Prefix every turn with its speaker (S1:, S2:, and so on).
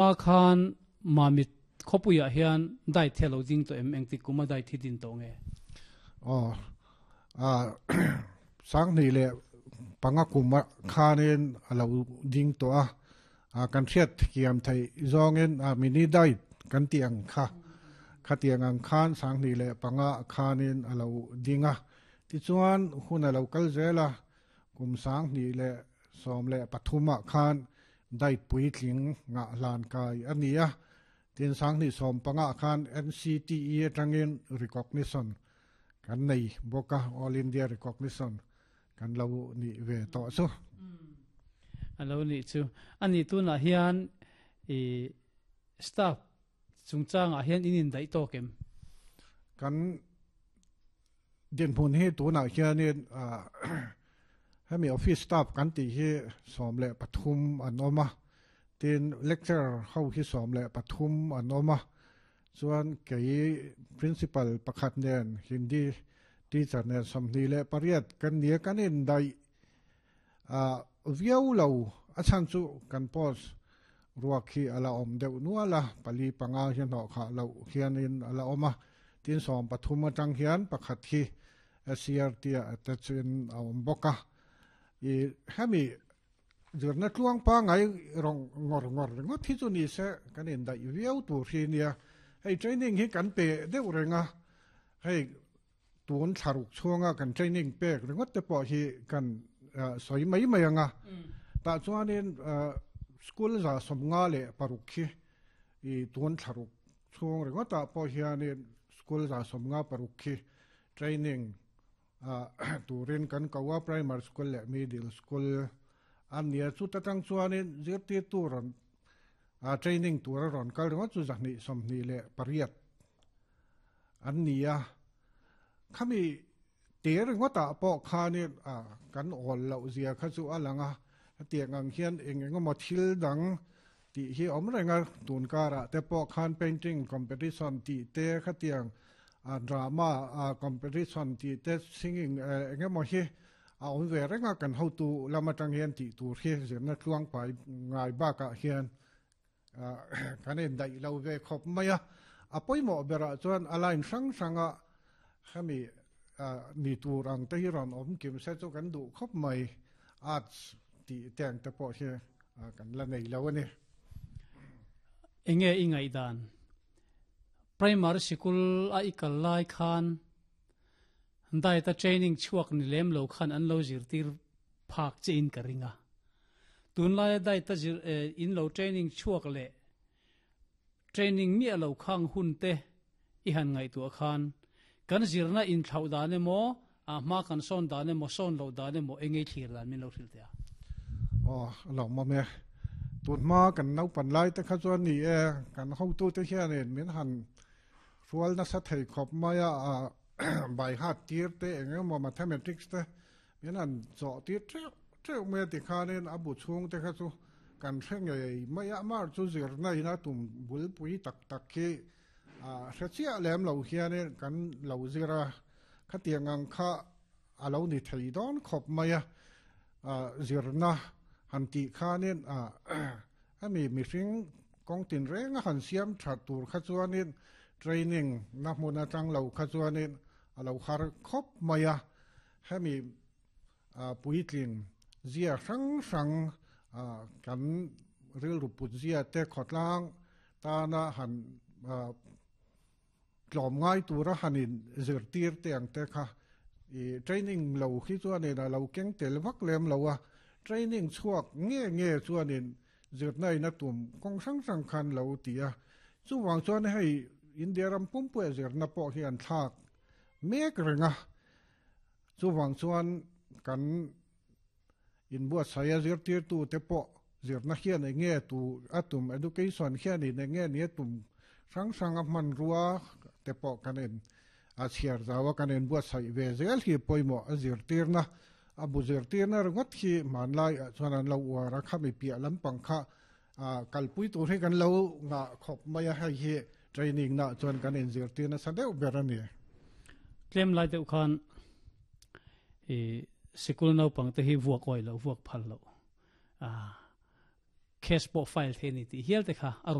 S1: A khan Mamit khawpuiah hian diet hi a lo ding tawh em? Engtik kum a diet hi din tawh nge?
S2: Aw, Sanghnih leh panga kum ah khanin a lo ding tawh a, kan hriat thiam theih zawngin mini diet kan tih ang kha, khatiang ang khan Sanghnih leh panga khanin a lo ding a. Tichuan hun a lo kal zel a, Kum 2013 ah khan diet puitling ngah hlan kai a ni a, tin 2015 ah khan NCTE atangin recognition kan nei bawk a, All India recognition kan lo nih ve tawh chu.
S1: A lo nih chu. A nih tunah hian i staff chungchangah hian in indaih tawk em?
S2: Kan Dinhmun hi tunah hianin hemi office staff kan tih hi 13 an awm a, tin lecturer ho hi 13 an awm a, chuan kei principal pakhat nen Hindi teacher nen 28 kan nia kan indaih viau lo a chhan chu kan post ruak hi a la awm deuh nual a, pali panga hi hnawh khah loh hianin a la awm a, tin 13 atang hian pakhat hi SCRT ah attach in a awm bawk a, i hemi zirna tluang pangai rawng ngawr ngawr ringawt hi chu ni se kan indaih viau tur hi nia, hei training hi kan pe deuh reng a, hei Tun thlaruk chhunga kan training pek ringawt te pawh hi kan sawi mai mai ang a. Tah chuanin school 56 khi i tun thlaruk chhung ringawtah pawh hianin school 56 khi training turin kan ko a, primary school leh middle school a nia. Chuta tang chuanin zirtirtu rawn training tura rawn kal ringawt chu 228 an ni a, khami te ringawtah pawh khanin kan awl loh zia kha chu a lang a, hetiang ang hian eng eng emaw thil dang tih hi awm reng a, tun karah te pawh khan painting competition tih te khatiang drama competition tih te singing eng emaw hi a awm ve reng a, kan hotu lam atang hian tih tur hi zirna tluang pai ngai bakah hian Kan indaih lo ve khawp mai a, a pawimawh berah chuan a line hrang hranga hemi ni tur ang te hi rawn awm kim se chu kan duh khawp mai, arts tih te ang te pawh hi kan la nei lo a ni.
S1: Enge i ngaihdan? Primary sikul a i kal lai khan diet a training chhuak ni lem lo khan an lo zirtir phak che in ka ring a. Tunlaia diet a zir in lo training chhuak leh training miah lo khang hun te i han ngaihtuah khan kan zirna inthlauh dan emaw, a hma kan sawn dan emaw, sawn loh dan emaw eng ei thlir dan min lo hrilh teh a.
S2: Aw, a lo mawm e. Tun hma kan naupan lai te kha chuan ni e, kan hotute hianin min han hrual nasa thei khawp mai a, by heart tir te eng emaw mathematics te Min han zawh tir teuh teuh mai a tikhanin a bu chhung te kha chu kan hre ngei mai a, amah chu zirna in a tum bulpui tak tak hi hre chiah lem lo hianin kan lo zir a, khatiang ang kha a lo ni thei dawn khawp mai a, zirna han tih khanin hemi mihring kawng tinreng a han siam tha tur kha chuanin training na hmun atang lo kha chuanin a lo har khawp mai a. Hemi puitling zia hrang hrang kan rilru put zia te khawtlang tana han tlawm ngai tura han in zirtir te ang te kha i training lo hi chuanin a lo keng tel vak lem lo a, training chhuak nge nge chuanin zirna in a tum kawng hrang hrang khan lo ti a, chuvang chuan hei India ram pumpuia zirna pawh hi an thlak mek reng a. Chuvang chuan kan inbuatsaih a zirtirtute pawh zirna hian eng nge tu a tum, education hianin eng nge ni a tum hrang hrang a hmanrua te pawh kan in a chhiar zau a, kan inbuatsaih ve zel hi pawimawh a zirtirna, a bu zirtirna ringawt hi hmanlai ah chuan an lo uar a, khami piah lampang kha kalpui tur hi kan lo ngah khawp mai a, hei hi training na chuan kan inzirtir nasa deuh ber a ni.
S1: Tlem lai deuh khan i sikul naupang te hi vuak awih loh, vuak phal loh, case pawh file theih a ni tih hial te kha a rawn.